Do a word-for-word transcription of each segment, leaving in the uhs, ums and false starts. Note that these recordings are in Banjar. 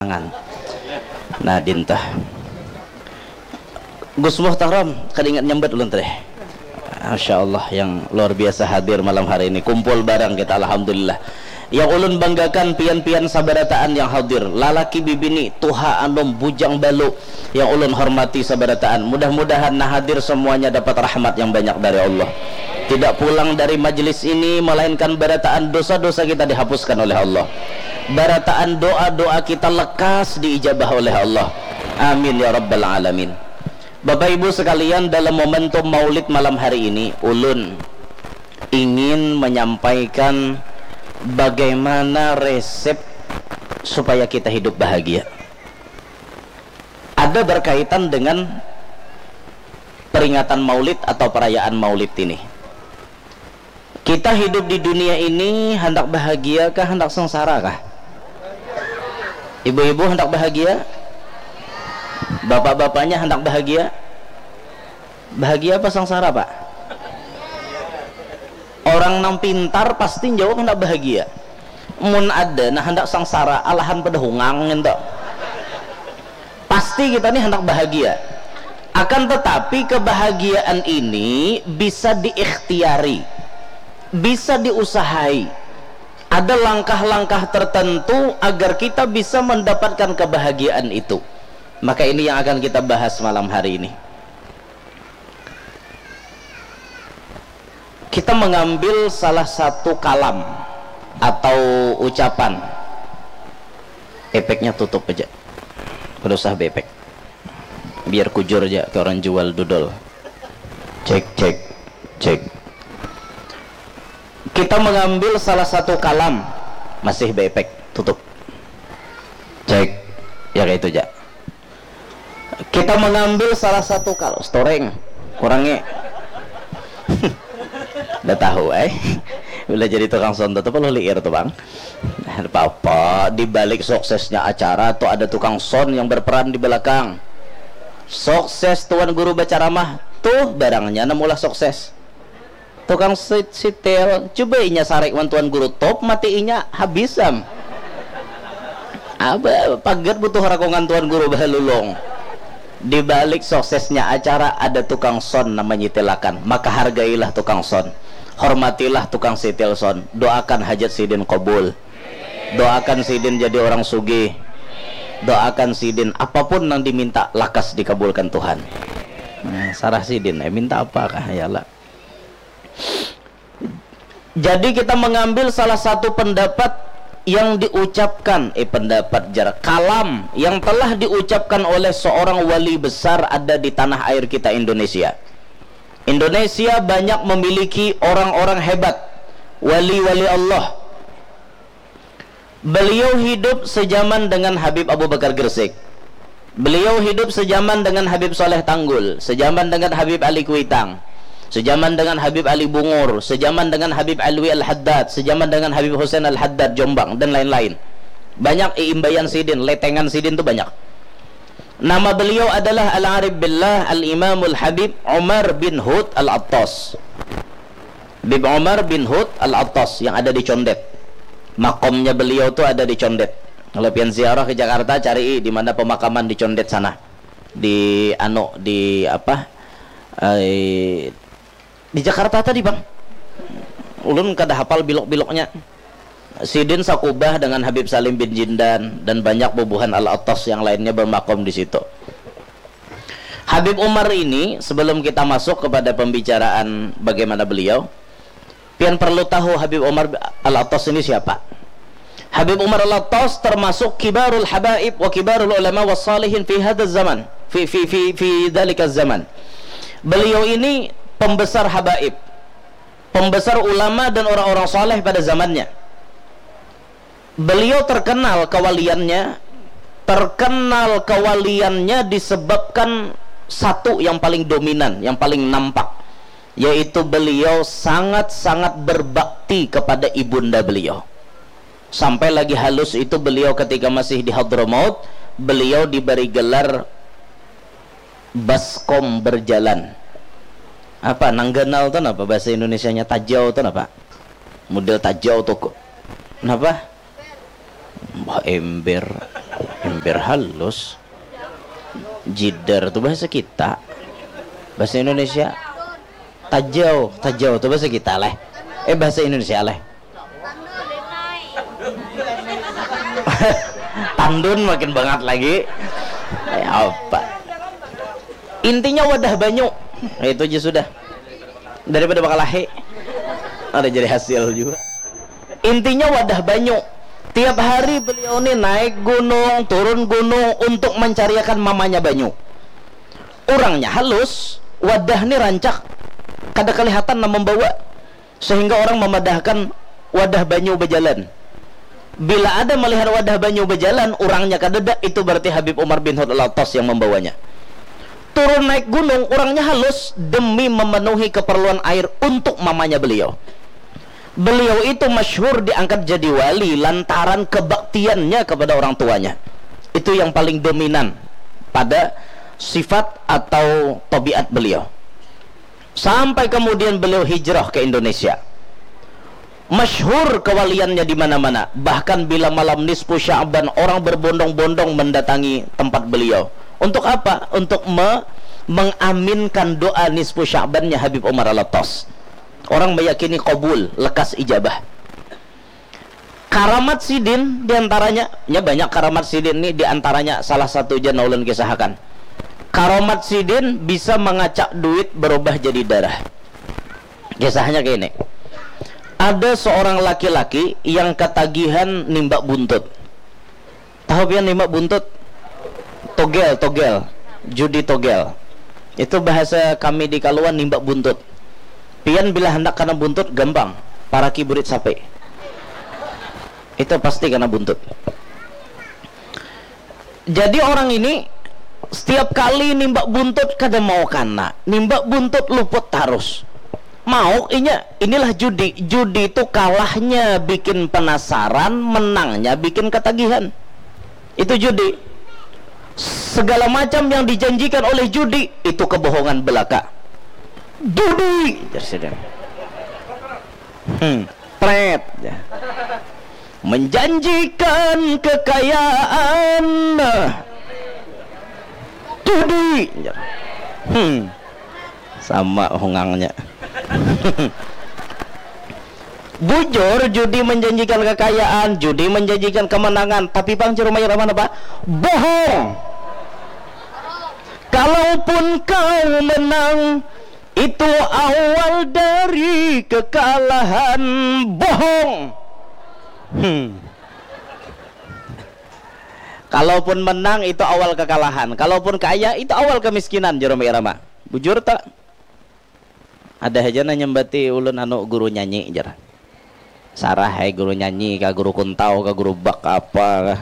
Tangan. Nah, dinta. Gus Muhtaram, kada ingat nyambat ulun teh. Masya Allah, yang luar biasa hadir malam hari ini. Kumpul barang kita, alhamdulillah. Yang ulun banggakan pian-pian sabarataan yang hadir, lalaki bibini, tuha anum, bujang balu, yang ulun hormati sabarataan. Mudah-mudahan nah hadir semuanya dapat rahmat yang banyak dari Allah. Tidak pulang dari majlis ini melainkan barataan dosa-dosa kita dihapuskan oleh Allah. Barataan doa-doa kita lekas diijabah oleh Allah. Amin ya rabbal alamin. Bapak Ibu sekalian, dalam momentum Maulid malam hari ini, ulun ingin menyampaikan bagaimana resep supaya kita hidup bahagia. Ada berkaitan dengan peringatan Maulid atau perayaan Maulid ini. Kita hidup di dunia ini hendak bahagia kah, hendak sengsara kah? Ibu-ibu hendak bahagia? Bapak-bapaknya hendak bahagia? Bahagia apa sengsara, Pak? Orang nang pintar pasti jawab hendak bahagia. Mun ada nah hendak sengsara, alahan pada hungang ento. Pasti kita ni hendak bahagia. Akan tetapi, kebahagiaan ini bisa diikhtiari, bisa diusahai. Ada langkah-langkah tertentu agar kita bisa mendapatkan kebahagiaan itu. Maka ini yang akan kita bahas malam hari ini. Kita mengambil salah satu kalam atau ucapan. Epeknya tutup aja. Kada usah beepek. Biar kujur aja ke orang jual dodol. Cek, cek, cek. Kita mengambil salah satu kalam. Masih beepek. Tutup. Cek. Ya, kayak itu aja. Kita mengambil salah satu kal-, storeng, kurangi. Udah tahu, eh? Bila jadi tukang sound tuh perlu liir tuh, Bang. Apa-apa, di balik suksesnya acara tuh ada tukang sound yang berperan di belakang. Sukses Tuan Guru berceramah, tuh barangnya namulah sukses. Tukang sit-, sitil, coba inya sarik wan Tuan Guru, top mati inya, habis am. Apa pagat butuh rakongan Tuan Guru bahalulung. Di balik suksesnya acara ada tukang sound nang manyitilakan, maka hargailah tukang sound. Hormatilah tukang sitil sound. Doakan hajat sidin kabul. Doakan sidin jadi orang sugih. Doakan sidin apapun nang diminta lakas dikabulkan Tuhan. Nah, sarah sidin, eh, minta apa kah? Ya lah. Jadi kita mengambil salah satu pendapat yang diucapkan, eh, pendapat jar, kalam yang telah diucapkan oleh seorang wali besar ada di tanah air kita, Indonesia. Indonesia banyak memiliki orang-orang hebat, wali-wali Allah. Beliau hidup sejaman dengan Habib Abu Bakar Gresik. Beliau hidup sejaman dengan Habib Saleh Tanggul, sejaman dengan Habib Ali Kuitang, sejaman dengan Habib Ali Bungur, sejaman dengan Habib Alwi Al-Haddad, sejaman dengan Habib Husain Al-Haddad Jombang, dan lain-lain. Banyak iimbayan sidin, letengan sidin tu banyak. Nama beliau adalah Al-Arif Billah Al-Imamul Habib Umar bin Hud Al-Attas. Habib Umar bin Hud Al-Attas yang ada di Condet. Makomnya beliau tu ada di Condet. Kalau pian ziarah ke Jakarta, cari di mana pemakaman di Condet sana. Di anu, di apa? Eh, di Jakarta tadi, Bang. Ulun kada hapal bilok-biloknya. Sidin sakubah dengan Habib Salim bin Jindan dan banyak bubuhan Al-Attas yang lainnya bermakom di situ. Habib Umar ini, sebelum kita masuk kepada pembicaraan bagaimana beliau, pian perlu tahu Habib Umar Al-Attas ini siapa. Habib Umar Al-Attas termasuk kibarul habaib wa kibarul ulama wa salihin fi hadha zaman, fi fi fi fi dzalika zaman. Beliau ini pembesar habaib, pembesar ulama dan orang-orang saleh pada zamannya. Beliau terkenal kewaliannya, terkenal kewaliannya disebabkan satu yang paling dominan, yang paling nampak, yaitu beliau sangat-sangat berbakti kepada ibunda beliau. Sampai lagi halus itu beliau ketika masih di Hadramaut, beliau diberi gelar baskom berjalan. Apa nang ganal tu napa bahasa Indonesianya, tajau tu napa? Model tajau tu. Napa? Bah ember. Ember halus. Jidar tu bahasa kita. Bahasa Indonesia. Tajau, tajau tu bahasa kita leh. Eh, bahasa Indonesia leh. Tandun makin bangat lagi. Ya apa? Intinya wadah banyu. Ya, itu aja sudah. Daripada bakalahi. Ada jadi hasil juga. Intinya wadah banyu. Tiap hari beliau ni naik gunung, turun gunung untuk mencariakan mamanya banyu. Urangnya halus, wadah ni rancak, kada kelihatan nang membawa, sehingga orang memadahkan wadah banyu berjalan. Bila ada melihat wadah banyu berjalan, urangnya kadada, itu berarti Habib Umar bin Hud Al-Attas yang membawanya. Turun naik gunung, urangnya halus demi memenuhi keperluan air untuk mamanya beliau. Beliau itu masyhur diangkat jadi wali lantaran kebaktiannya kepada orang tuanya. Itu yang paling dominan pada sifat atau tabiat beliau. Sampai kemudian beliau hijrah ke Indonesia. Masyhur kewaliannya di mana-mana. Bahkan bila malam nisfu Sya'ban, orang berbondong-bondong mendatangi tempat beliau. Untuk apa? Untuk me- mengaminkan doa nisfu Sya'bannya Habib Umar Al-Attas. Orang meyakini kabul, lekas ijabah. Karamat sidin diantaranya, nya banyak karamat sidin ni, diantaranya salah satu ja nang ulun kisahakan. Karamat sidin bisa mangacak duit berubah jadi darah. Kisahnya kayak ini. Ada seorang laki-laki yang ketagihan nimbak buntut. Tahu pian nimbak buntut? Togel, togel. Judi togel. Itu bahasa kami di Kaluan, nimbak buntut. Pian bila handak kana buntut, gampang. Paraki burit sapi. Itu pasti kana buntut. Jadi orang ini setiap kali nimbak buntut kada mau kana. Nimbak buntut luput tarus. Mau inya, inilah judi. Judi itu kalahnya bikin penasaran, menangnya bikin ketagihan. Itu judi. Segala macam yang dijanjikan oleh judi itu kebohongan belaka. Judi, jar sidin. Hmm, pret. Menjanjikan kekayaan. Judi, jar. Hmm. Sama hungangnya. Bujur, judi menjanjikan kekayaan, judi menjanjikan kemenangan, tapi pang jar Rhoma Irama napa? Bohong. Kalaupun kau menang, itu awal dari kekalahan. Bohong. Hmm. Kalaupun menang, itu awal kekalahan. Kalaupun kaya, itu awal kemiskinan, jar Rhoma Irama. Bujur tak? Ada haja nang nyambati ulun, anu, guru nyanyi, jar. Sarah ai, guru nyanyi kah, guru kuntau kah, guru bak apa kah.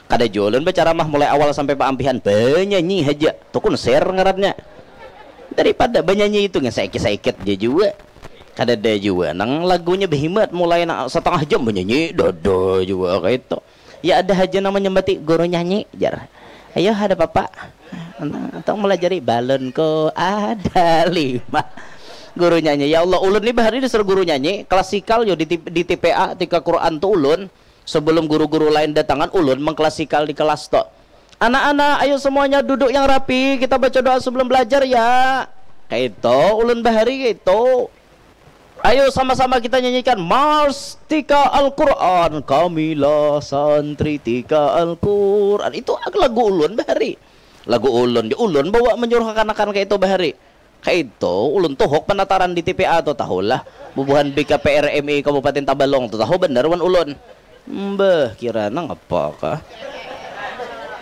Kada jua ulun bacaramah mulai awal sampai paampihan, banyanyi haja. Tu konser ngarannya. Daripada banyanyi itu ngan saikit-saikit ja jua. Kadada jua nang lagunya behimat mulai na satangah jam banyanyi, dada jua kaitu. Ya ada haja nang manyambati guru nyanyi, jar. Ayo, ada papa. Atau melajari balonku ada lima. Guru nyanyi. Ya Allah, ulun ni bahari dasar guru nyanyi, klasikal yo di, T- di T P A, tika Quran tu ulun. Sebelum guru-guru lain datangan, ulun mengklasikal di kelas tu. Anak-anak, ayo semuanya duduk yang rapi, kita baca doa sebelum belajar ya. Kaitu, ulun bahari kaitu. Ayo sama-sama kita nyanyikan Mars Tika Al-Quran, kamilah santri Tika Al-Quran. Itu lagu ulun bahari. Lagu ulun, di ulun bawa menyuruh kekanakan kaitu bahari. Kaitu, ulun tuhuk penataran di T P A tu, tahulah. Bubuhan B K P R M I Kabupaten Tabalong tu, tahu banar wan ulun. Mbah, kira nang apa kah?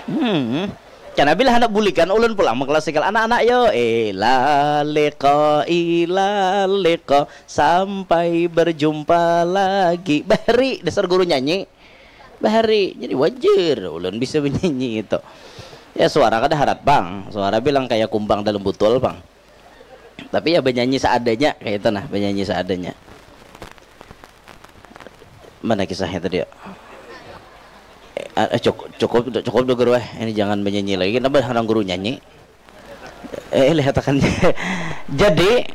Hmm. Kena bila hendak bulikan ulun pulang mengklasikal anak-anak yo. Ila liqa, ila liqa, sampai berjumpa lagi. Bahari, dasar guru nyanyi. Bahari, jadi wajar ulun bisa menyanyi itu. Ya suara kada harat pang, suara bilang kayak kumbang dalam botol pang. Tapi ya benyanyi seadanya kayak itu nah, benyanyi seadanya. Mana kisahnya tadi ya? Eh, eh, cukup, cukup, cukup dulu guru eh. Ini jangan menyanyi lagi. Kenapa orang guru nyanyi? Eh, lihatakan. Jadi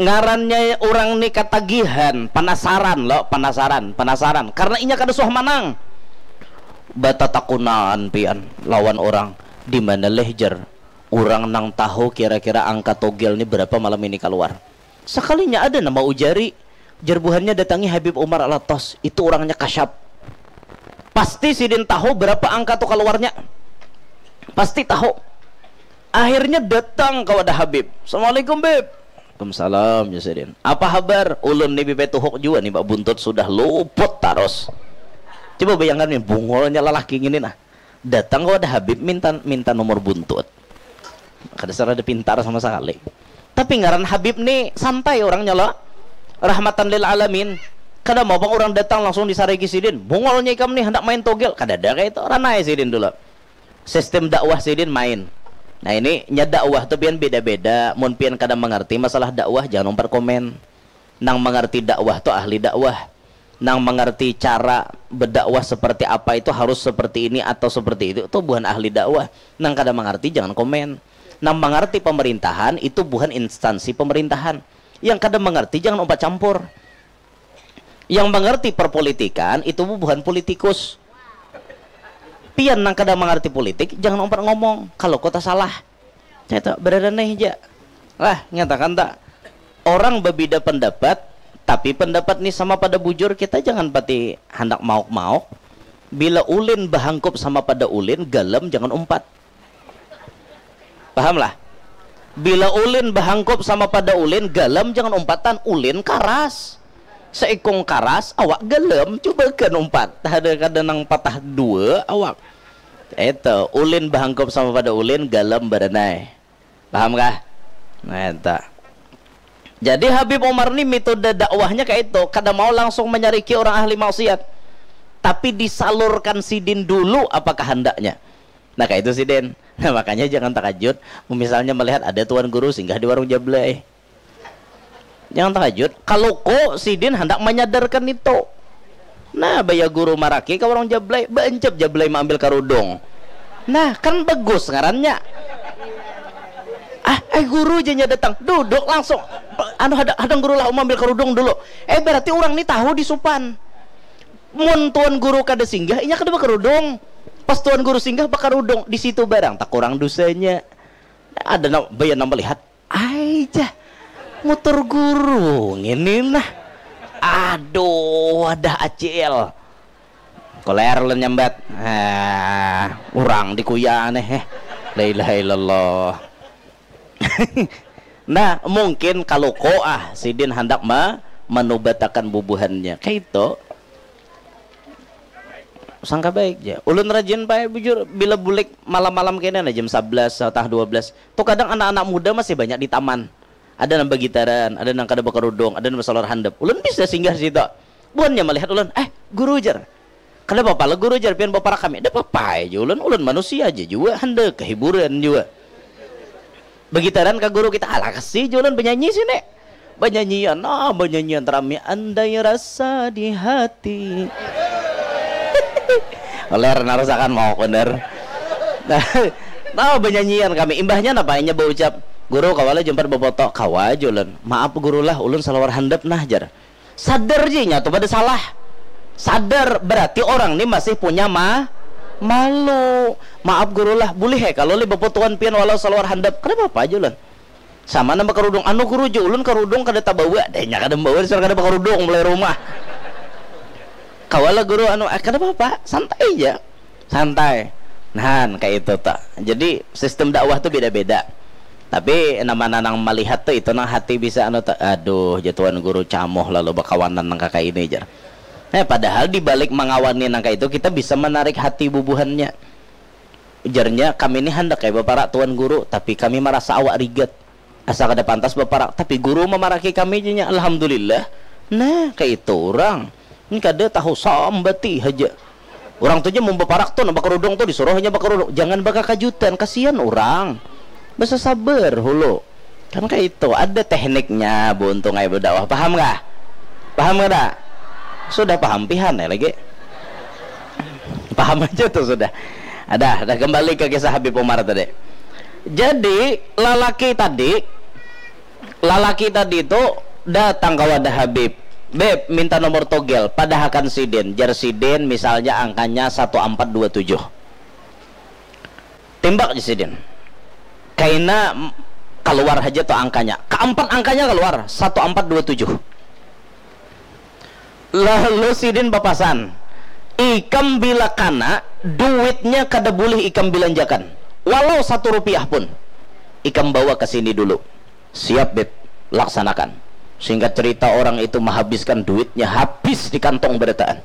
ngarannya orang ni katagihan, penasaran lo, penasaran, penasaran. Karena inya kada suah manang. Batatakunan pian lawan orang, di mana leh jar, orang nang tahu kira-kira angka togel ni berapa malam ini keluar. Sekalinya ada nama ujari, jar buhannya datangi Habib Umar Alatas, itu orangnya kasyap. Pasti sidin tahu berapa angka tu keluarnya. Pasti tahu. Akhirnya datang ke wadah Habib. Assalamualaikum Bib. Waalaikumsalam ya sidin. Apa habar? Ulun ni Bib tuhuk jua ni, Mbak Buntut sudah luput tarus. Coba bayangkan ni, bungulnya lelaki ngini nah. Datang ke wadah Habib minta minta nomor buntut. Kada serada pintar sama sekali. Tapi ngaran Habib ni santai orangnya lo. Rahmatan lil alamin. Kada mau pang orang datang langsung disariki sidin. Bungulnya ikam ni hendak main togel. Kada ada kayak itu. Ranai sidin dulu. Sistem dakwah sidin main. Nah ini nya dakwah tu pian beda-beda. Mun pian kada mengerti masalah dakwah jangan umpat komen. Nang mengerti dakwah tu ahli dakwah. Nang mengerti cara berdakwah seperti apa itu harus seperti ini atau seperti itu, itu bukan ahli dakwah. Nang kada mengerti jangan komen. Nang mengerti pemerintahan itu bukan instansi pemerintahan. Yang kada mengerti jangan umpat campur. Yang mengerti perpolitikan itu bukan politikus. Pian nang kada mengerti politik jangan umpat ngomong kalau kota salah. Saya tak berada nih aja. Lah, nyatakan tak? Orang berbeda pendapat, tapi pendapat ni sama pada bujur, kita jangan pati hendak mauk-mauk. Bila ulin bahangkup sama pada ulin, galam jangan umpat. Paham lah? Bila ulin bahangkup sama pada ulin, galam jangan umpatan, ulin karas. Seikung karas, awak galam, coba kan umpat. Ada kada nang patah dua awak. Itu, ulin bahangkup sama pada ulin, galam baranai. Paham kah? Nah, itu. Jadi Habib Umar ni metode dakwahnya kayak itu, kada mau langsung menyariki orang ahli maksiat, tapi disalurkan sidin dulu apa kehendaknya. Nah kayak itu sidin. Nah makanya jangan terkejut misalnya melihat ada tuan guru singgah di warung jablay. Jangan terkejut. Kalau ko sidin hendak menyadarkan itu. Nah, baya guru maraki ka warung jablay, baancap jablay maambil karudung. Nah, kan bagus ngarannya. Ah, eh guru janya datang, duduk langsung. Anu hadang, hadang guru lah, maambil karudung dulu. Eh berarti orang ni tahu di supan. Mun tuan guru kada singgah, inya kada bakarudung. Pas tuan guru singgah bakarudung, di situ barang tak kurang dosanya. Ada na, baya nang melihat, ai jah, mutur guru ngini nah. Aduh, wadah acil. Koler ulun nyambat. Ah, urang dikuya aneh eh. La ilaha illallah. Nah, mungkin kalau ko ah sidin hendak ma manubatakan bubuhannya. Kayak itu. Sangka baik ja. Ulun rajin pae bujur bila bulik malam-malam kene nah jam sebelas atau dua belas. Tu kadang anak-anak muda masih banyak di taman. Ada nang bagitaran, ada nang kada bakarudung, ada nang basalawar handap. Ulun bisa singgah situ. Buhannya malihat ulun, "Eh, guru," jar. "Kada papa lah guru," jar, "pian baparak kami." "Kada papa aja ulun, ulun manusia aja jua, handak kehiburan jua." Bagitaran ka guru kita, "Alah kasih ja ulun banyanyi sini." Banyanyian, nah banyanyian rami, andai rasa di hati. Oler narusakan mau bener. Nah, nah banyanyian kami. Imbahnya napa inya baucap, "Guru, kawa lah jumpat bafoto?" "Kawa aja ulun." "Maaf guru lah, ulun salawar handap nah," jar. Sadar ji nya tu pada salah. Sadar berarti orang ni masih punya ma malu. "Maaf guru lah, boleh ya kalau li bafotoan pian walau salawar handap?" "Kada apa-apa aja ulun." Sama nang bakarudung, "Anu guru, ja ulun karudung kada tabawa." Deh, nya kada membawa dasar kada bakarudung mulai rumah. "Kawa lah guru, anu," "Ah, kada apa-apa, santai ja." Santai. Nah, kayak itu tuh. Jadi sistem dakwah tuh beda-beda. Tapi nama nanang melihat tuh itu nang hati bisa anu tuh, "Aduh, jatuhan guru camoh lalu bakawanan nang kakak ini," jar. Nah, padahal di balik mengawani nang kayak itu kita bisa menarik hati bubuhannya. Ujarnya, "Kami ini hendak kayak baparak tuan guru, tapi kami merasa awak rigat. Asa kada pantas baparak, tapi guru memaraki kami," janya. Alhamdulillah. Nah, kayak itu orang. Ini kada tahu sambati haja. Orang tu ja mau baparak tu, nampak kerudung tu, disuruh hanya bakerudung. Jangan bakakajutan, kasihan orang. Basa sabar hulu. Kan kayak itu, ada tekniknya, buntung aja berdakwah. Paham kah? Paham kada? Sudah paham pihan ya lagi. Paham aja tuh sudah. Ada, ada kembali ke kisah Habib Umar tadi. Jadi lalaki tadi, lalaki tadi itu datang ke wadah Habib. "Beb, minta nomor togel, padahakan sidin." Jar sidin, misalnya angkanya satu ampat dua tujuh. Timbak ja sidin. Kaina m-, kaluar haja tu angkanya. Kaampat angkanya kaluar, satu ampat dua tujuh. Lalu sidin bapasan, "Ikam bila kana, duitnya kada bulih ikam bilanjakan. Walau satu rupiah pun. Ikam bawa ka sini dulu." "Siap, Beb. Laksanakan." Singkat cerita, orang itu mahabiskan duitnya habis di kantong barataan.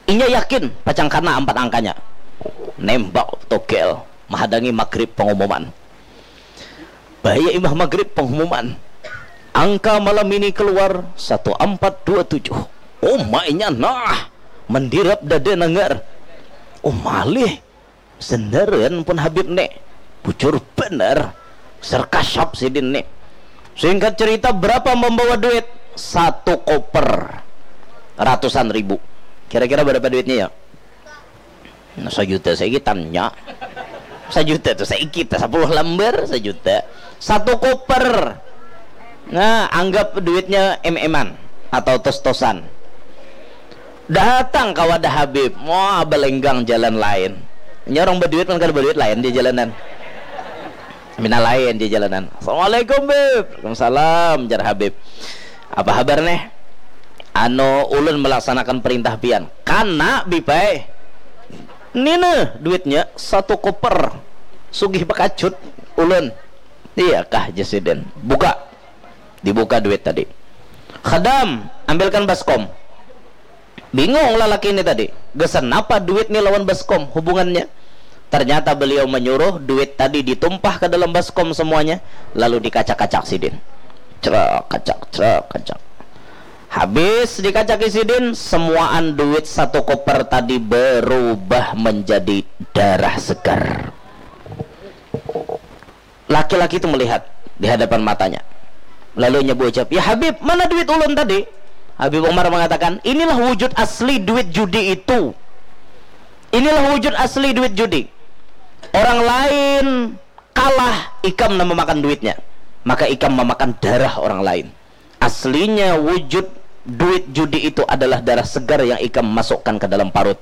Inya yakin pacang kana ampat angkanya. Nembak togel, mahadangi magrib pangumuman. Bahaya imbah magrib pangumuman. Angka malam ini keluar satu ampat dua tujuh. Uma inya nah, mandirap dada nanggar. Oh, malih. Sendaran pun Habib ni. Bujur bener. Serkasap sidin ni. Singkat cerita, berapa membawa duit? Satu koper. Ratusan ribu. Kira-kira berapa duitnya ya? Nah, sajuta saikit tanya. Sajuta tu saikit, sepuluh lembar sajuta. Satu koper. Nah, anggap duitnya em-eman atau tos-tosan. Datang ka wadah Habib, wah, balenggang jalan lain. Nya orang baduit kan kada baduit lain di jalanan. Mina lain di jalanan. "Assalamualaikum, Bib." "Waalaikumsalam," jar Habib. "Apa habar neh?" "Anu, ulun melaksanakan perintah pian." "Kana, Bib ai." "Nina duitnya satu koper. Sugih bakacut ulun." "Iya kah?" jar sidin. "Buka." Dibuka duit tadi. "Khadam, ambilkan baskom." Bingung lalaki ini tadi, gasan napa duit ni lawan baskom hubungannya. Ternyata beliau menyuruh duit tadi ditumpah ke dalam baskom semuanya, lalu dikacak-kacak sidin. Cerak, kacak, cerak, kacak. Habis dikacaki sidin, semuaan duit satu koper tadi berubah menjadi darah segar. Laki-laki itu melihat di hadapan matanya. Lalu inya berucap, "Ya Habib, mana duit ulun tadi?" Habib Umar mengatakan, "Inilah wujud asli duit judi itu. Inilah wujud asli duit judi. Orang lain kalah, ikam nang memakan duitnya. Maka ikam memakan darah orang lain." Aslinya wujud duit judi itu adalah darah segar yang ikam masukkan ke dalam parut.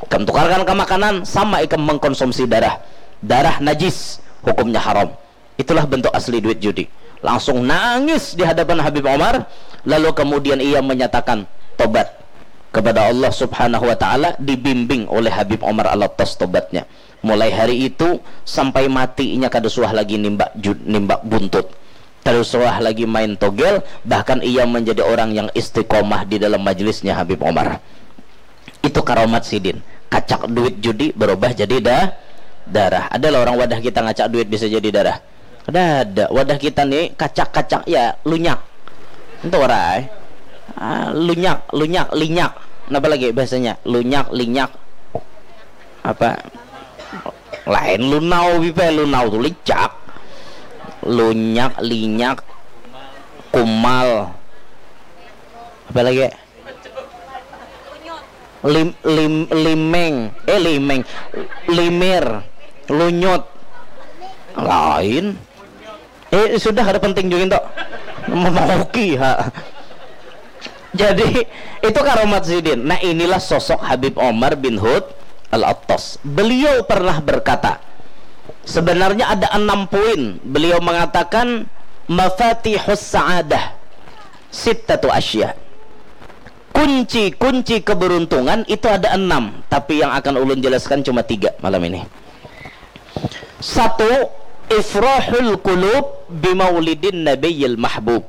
Ikam tukarkan ke makanan, sama ikam mengkonsumsi darah. Darah najis, hukumnya haram. Itulah bentuk asli duit judi. Langsung nangis di hadapan Habib Omar, lalu kemudian ia menyatakan tobat kepada Allah Subhanahu wa Ta'ala, dibimbing oleh Habib Omar Al-Attas tobatnya. Mulai hari itu sampai mati inya kada suah lagi nimbak ju-, nimbak buntut. Kada suah lagi main togel, bahkan ia menjadi orang yang istiqomah di dalam majlisnya Habib Omar. Itu karomat sidin. Kacak duit judi berubah jadi da-, darah. Adalah orang wadah kita ngacak duit bisa jadi darah. Kada ada. Wadah kita ni kacak-kacak ya lunyak. Itu orang. Ah, lunyak, lunyak, linyak. Napa lagi bahasanya? Lunyak, linyak. Apa? Lain lunau, Bipe, lunau tu licak. Lunyak, linyak, kumal. Apa lagi? Lim, lim, limeng, eh, limeng, limir, lunyut. Lain. Eh, sudah, kada penting juga itu. Memaoki, ha. Jadi, itu karomat sidin. Nah, inilah sosok Habib Omar bin Hud Al-Attas. Beliau pernah berkata, sebenarnya ada enam poin. Beliau mengatakan, "Mafatihus sa'adah sittatu asya." Kunci-kunci keberuntungan itu ada enam, tapi yang akan ulun jelaskan cuma tiga malam ini. Satu, ifrahul qulub bimaulidin nabiyil mahbub.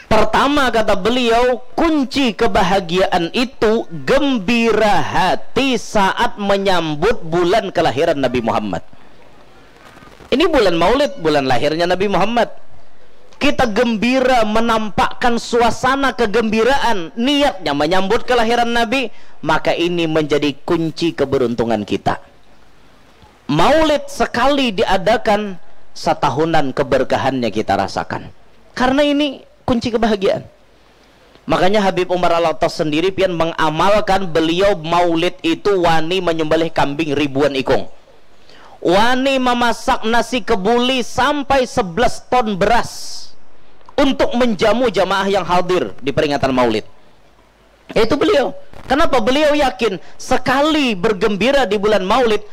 Pertama, kata beliau, kunci kebahagiaan itu gembira hati saat menyambut bulan kelahiran Nabi Muhammad. Ini bulan Maulid, bulan lahirnya Nabi Muhammad. Kita gembira menampakkan suasana kegembiraan, niatnya menyambut kelahiran Nabi, maka ini menjadi kunci keberuntungan kita. Maulid sekali diadakan, satahunan keberkahannya kita rasakan. Karena ini kunci kebahagiaan. Makanya Habib Umar Al-Attas sendiri pian mengamalkan, beliau maulid itu wani menyembelih kambing ribuan ikung. Wani memasak nasi kebuli sampai sebelas ton beras. untuk menjamu jamaah yang hadir di peringatan Maulid. Yaitu beliau. Kenapa? Beliau yakin sekali bergembira di bulan Maulid,